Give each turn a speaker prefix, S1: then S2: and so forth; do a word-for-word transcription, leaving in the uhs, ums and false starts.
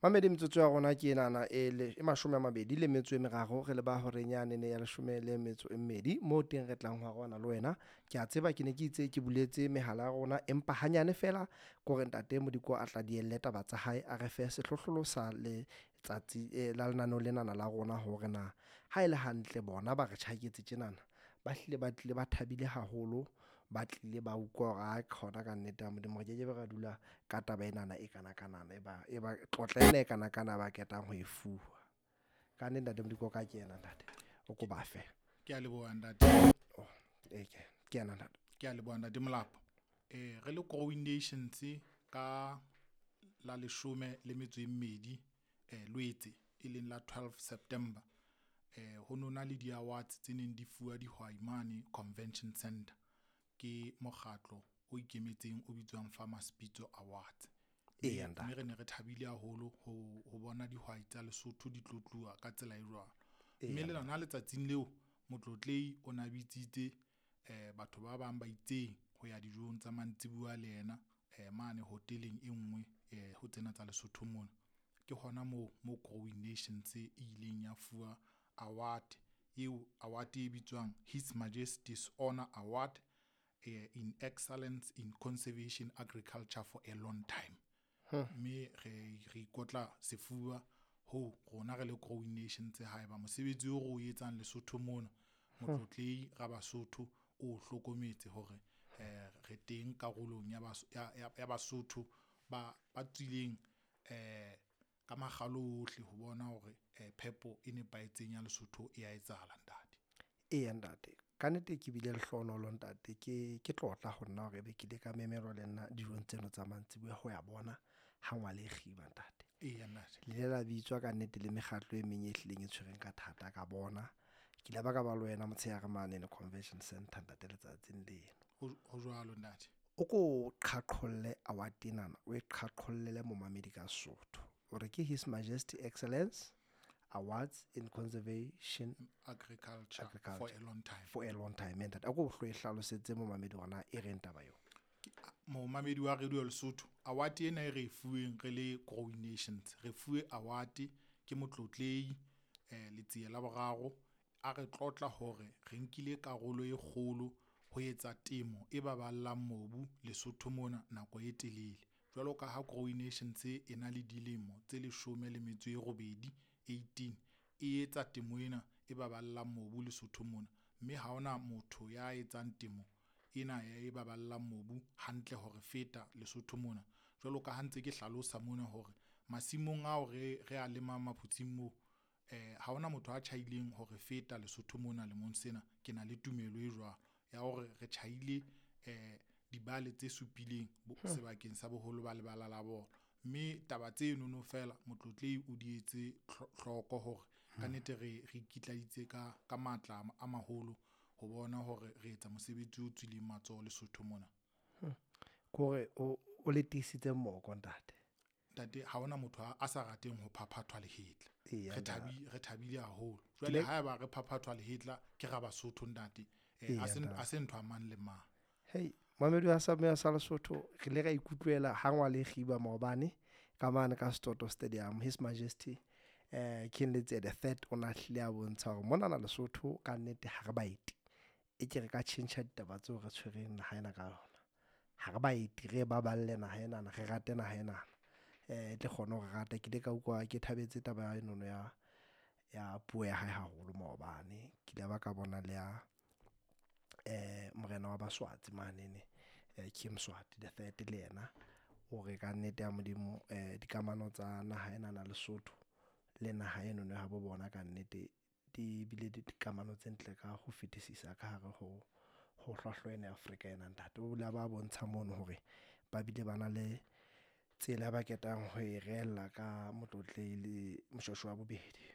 S1: Mamedi metsotso ya rona ke enana e le e mashome a mabedi le metso e meraro re le ba horeng yanene ya leshome le metso e mmedi moo teng re tlang ho arohana le wena. Ke a tseba ke ne ke itse ke buletse mehala ya rona empa hanyane fela kore ntate Modiko a tla dielle taba tsa hae a re fe sehlohlolo sa letsatsi eh, la lenaneo lenana la rona hore na ha e le hantle bona ba re tjhaketse tjenana ba hlile ba tlile ba thabile haholo ba tlile ba utlwa hore a khona ka nnete ya Modimo re kekebe ra dula ka taba enana e kana-kanana e ba e ba tlotla ena e kana-kana ba ketang ho e fuwa. Ka nnete ntate Modiko o ka kena ntate o ko ba fe.
S2: Ke a leboha ntate.
S1: Oh, e ke kena ntate.
S2: Ke a leboha ntate Molapo. Eh re le Growing Nations ka la leshome le metso e mmedi eh Lwetse e leng la twelve September eh ho nona le di awards tse neng di fuwa dihwai mane Convention Center ke mokgatlo o ikemetseng o bitswang Farmers Pitso Awards.
S1: Eya
S2: Mme
S1: ntate.
S2: re ne re thabile haholo ho ho bona dihwai tsa Lesotho di tlotluwa ka tsela e jwalo.
S1: Eya
S2: Mme le
S1: ntate.
S2: lona letsatsing leo motlotlehi o na bitsitse eh batho ba bang ba itseng ho ya dijong tsa mantsibuya le yena eh mane hoteleng e nngwe eh ho tsena tsa Lesotho mona. Ke hona moo mo Growing Nations e ileng ya fuwa award eo award e bitswang His Majesty's Honor Award eh, in Excellence in Conservation Agriculture for a long time. Mme re re ikotla sefuba ho rona re le Growing Nations haeba mosebetsi o re o etsang Lesotho mona motlotlehi ra Basotho o hlokometse hore eh re teng karolong ya Bas- ya ya- ya Basotho ba ba tswileng eh ka makgalo ohle ho bona hore eh phepo e nepahetseng ya Lesotho e a etsahala ntate.
S1: Eya ntate. Ka nnete ke bile lehlohonolo ntate ke ke tlotla ho nna hore ebe ke ile ka memelwa le nna dijong tseno tsa mantsibuya ho ya bona ha ngwale e kgiba ntate.
S2: Eya ntate.
S1: Le ile la bitswa ka nnete le mekgatlo e meng e hlileng e tshwereng ka thata ka bona. Ke ile ba ka ba le wena motshehare mane le Convention Center ntate letsatsing leno.
S2: Ho ho jwalo ntate.
S1: O ko qhaqholle award enana o e qhaqhollele momamedi ka Sesotho. O re ke His Majesty Excellence Awards in Conservation
S2: Agriculture,
S1: Agriculture.
S2: for a long time.
S1: for a long time. Ntate a ko hlo e hlalosetse momamedi hore na e reng taba eo.
S2: Momamedi wa Radio Lesotho award ena e re e fuweng re le Growing Nations re fuwe award ke motlotlehi eh Letsie la boraro a re tlotla hore re nkile karolo e kgolo ho etsa temo e baballang mobu Lesotho mona nako e telele. Jwalo ka ha Growing Nations e na le dilemo tse leshome le metso e robedi eighteen e etsa temo ena e baballang mobu Lesotho mona, mme ha hona motho ya etsang temo ena ya e baballang mobu hantle hore feta Lesotho mona. Jwalo ka ha ntse ke hlalosa mona hore masimong ao re re a lemang maphutsing moo eh ha hona motho a tjhaileng hore feta Lesotho mona lemong sena. Ke na le tumelo e jwalo ya hore re tjhaile eh dibale tse supileng sebakeng sa boholo ba lebala la bolo. Mme taba tseno no fela motlotlehi o di etse hloko hore ka nnete re re ikitlaitse ka ka matla a maholo ho bona hore re etsa mosebetsi o tswileng matsoho Lesotho mona.
S1: Kore o o le tiisitse moko ntate.
S2: Ntate ha hona motho a sa rateng ho phaphathwa lehetla.
S1: Eya
S2: Re
S1: ntate.
S2: thabi re thabile haholo. Jwale haeba re phaphathwa lehetla ke ra Basotho ntate. Eh a se a se ntho a mang le mang.
S1: Hey, mamedi wa sa sa Lesotho re ile ra ikutlwela ha ngwale e kgiba maobane ka mane ka Setoto Stadium His Majesty eh King Letsie the third o na hlile a bontsha hore monana Lesotho ka nnete ha re baeti. E ke re ka tjhentjha ditaba tseo re tshwereng naha ena ka yona. Ha re baeti re baballe naha enana re rate naha enana. Eh e tle kgone hore rata ke ile ka utlwa ke thabetse taba ya enono ya ya puo ya hae haholo maobane. Ke ile ba ka bona le ya eh morena wa Baswatsi manene eh King Mswati the third le yena o re ka nnete ya Modimo eh dikamano tsa naha enana Lesotho le naha eno ya habo bona ka nnete di bile dikamano tse ntle ka ho fetisisa ka hare ho ho hlwahlwa ena ya Afrika ena ntate. O la ba bontsha mono hore ba bile ba na le tsela ba ketang ho e reella ka motlotlehi le Moshoeshoe wa bobedi.